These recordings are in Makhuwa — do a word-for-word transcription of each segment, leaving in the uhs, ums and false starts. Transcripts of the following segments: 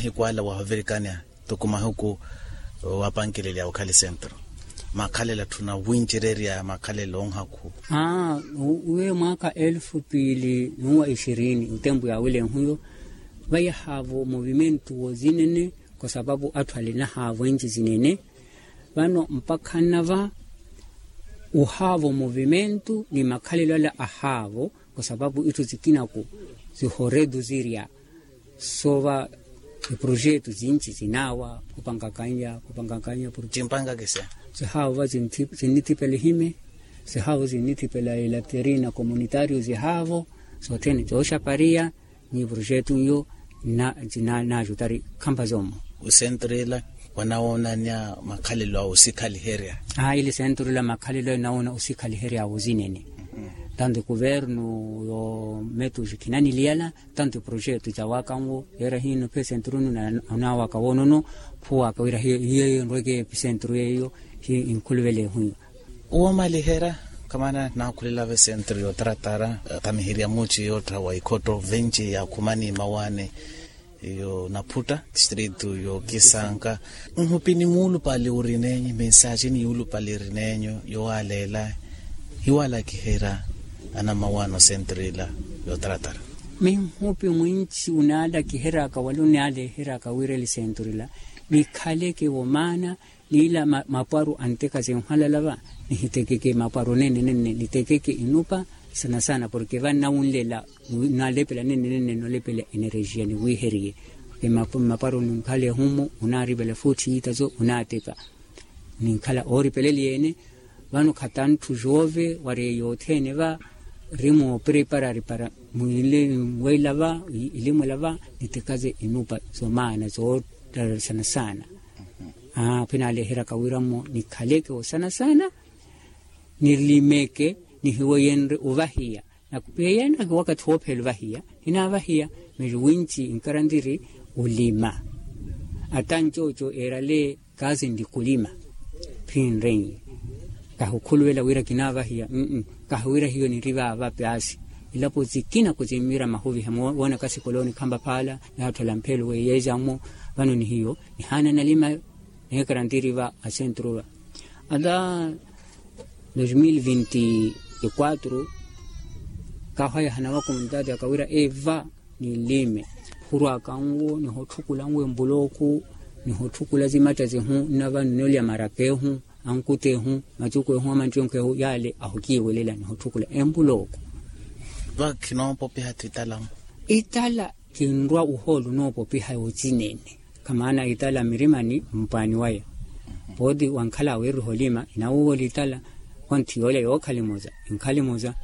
Hikwala wahavirikanya tuku mahuku wapankelelya okhali sentro makhalela tthuna wincererya makhalela onhaku. Aa, uwe mwaaka elfu piili n'uwa ixirini otempu yaawilenhuyo vayahaavo movimentu wozinene. Kwa sapapu atthu alinahavo enci zinene vano mpakha nnava ohaavo movimentu ni makhalelo ala ahaavo. Kwa sapapu itthu zikinaku zihoretu zirya soova iprojetu zinci zinaawa khupangakannya khupangakannya. Porke zimpankakisa zihaavo va zinnithipela ehime zihaavo zinnithipela elaterina komunitario zihaavo sothene zooxapariya. Ni projetu nyo na na na jutari khampa zomo. Osentro ela wanawoonanya makhalelo a osikhaliherya. Aa ili sentro ela makhalelo ela nawoona osikhaliherya wozinene. Tanto kuvernu yo metu jikhinaniliyala tanto projetu jawakanwo yera hino phe sentro nu na onawaka wonono phuwaka wira hiyo hiyo nrweke sentro yeyo. Hi inkhuluvele ehuyo. Uwo maliherya kamana nakhulelava esentro yotaratara. Tamiherya muci yoottha wa ikhotto venci ya khumani mawaani yo naphutta distrito yo kisanka. Nhupini muulupale urinenyu mensaji ni yuulupale irinenyu yowaleela hiwalakiherya anamawaani osentro ila yotaratara. Minhupi mwinci unaalakiheryaka wala unaaleheryaka wira lisentro ila nikhaleke womaana. Niila mapwaru anteka zinhwalala va nihitekeke mapwaru nene nene nitekeke inupa sana sana porke va nnawunlela nnalepela nene nene nolepela enerejiya niwiheriye. Porke mapwaru ninkhala ehumu unaaripela futhi yiitazo unaateka ninkhala ooripeleliye-ene. Vano khatanthu jove wari yothene va rimoopreparari para mwile mwela va ilimwela va nitekaze inupa zomaana zoottararisana saana. Aa phinaleheraka wiramo nikhaleke osanasana nilimeke nihiweyenre ovahiya nakupiheyenraki wakathi woophela ovahiya. Hinaavahiya miri winci inkarantiri olima. Ata ncooco eerale kazi ndi kulima phinrenye. Kahukhuluvela wira kinaavahiya mm kahuwira hiyo niri vaava paasi. Ilapo zikina kuzimmira mahuviha moona kasikoloni khampa phaala. Yaatthela mphelo weiyeza mmo vano ni hiyo nihaana nalima. Neekarantiri va asentru va ata dos mil vinti e quatro kahwayahana va komunitati akawira eva nilime. Hurwaka nwo nihotthukulanwo embulooku nihotthukulanwo zimatta zihu nnava nnolya maraka ehu ankuta ehu macuku ehu amanttiyonka ehu yaale ahukiiwelela nihotthukulanwo embulooku. Va khinoopopiha titala mu itala kinrwa ohoolo onoopopiha yocinene. Kamaana itala mirimani mpwaani waya pooti wankhala awiiriha olima inawuwa olitala. Konthi yoolya yookhalimoza inkhalimoza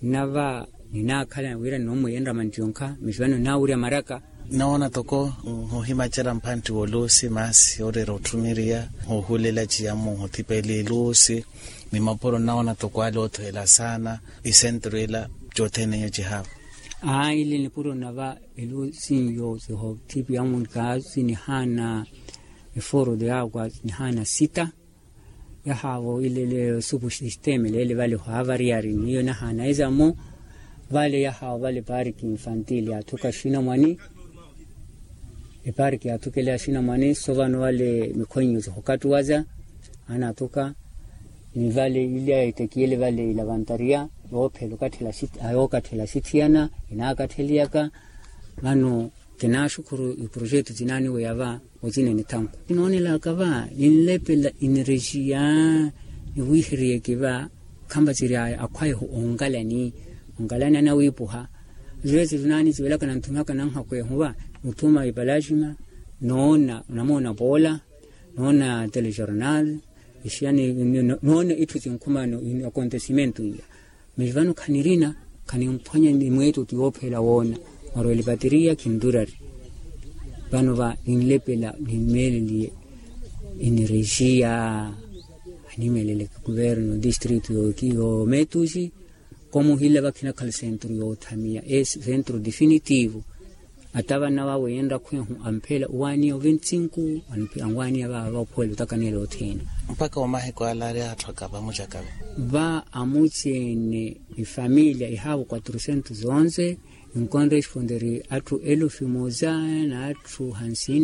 nnava ninaakhala wira nnoomweyenrya manttiyonka mivano nnaawurya maraka. Nnawoona toko nhuhimacela mphantti woluusi maasi oreera otthumiriya nhuhulela ciyamu nhuthipela eluusi ni mapuro nnawoona toko ale oothuhela saana. Isentro ila cothene iyo cihaavo. Aa ile nipuro nnava eluusi iyo sihothipiyamu kaasi nihaana eforo de agua nihaana sita. Yahaavo ile le supu sisteme leele vale hwaavariyari niyo nahaana ezamo. Vale yahaavo vale pariki infantil yaathuka axinamwani. Epariki yaathukela axinamwani so vano vale mikhwenyo zihokattuwaza anaathuka. Ni vale ile etekiyele vale ilavantaria yoophela okattela axithiyana inaakattheliyaka. Vano kinaaxukhuru iprojetu zinaaniweya va ocinene thanku kinoonelaka va ninlepela enerejiya. Niwiheriyeke va khampasiri aya akhwayehu onkalani onkalani anawiipuha. Zivesi vinaani civelaka nanthumihaka nanhakwehu va nuthuma ipalaxima noona namoona poola noona telejornal. Ixiyani noona itthu cinkhuma no akontesimentu iya. Miri vano khanirina khanimphwanya ni mweeto ti woophela woona. Mwarwela epatiriya khinturari vano va ninlepela nimmeeleliye enerejiya. Animeelele kuverno distritu yoometuxi komuhila vakhinakhala sentru yoothamiya e sentru definitivo. Ata vana vawe yenrakhwehu amphela owaaniya oventinku anwaaniya vaava ophuwela otakaneela othene. Mpakha omahiku ala ari atthu akava amucakava. Va amuceene efamilia ehaavo quatrocentos onze. Inkonresponderi atthu elufu emoza n'atthu hansini.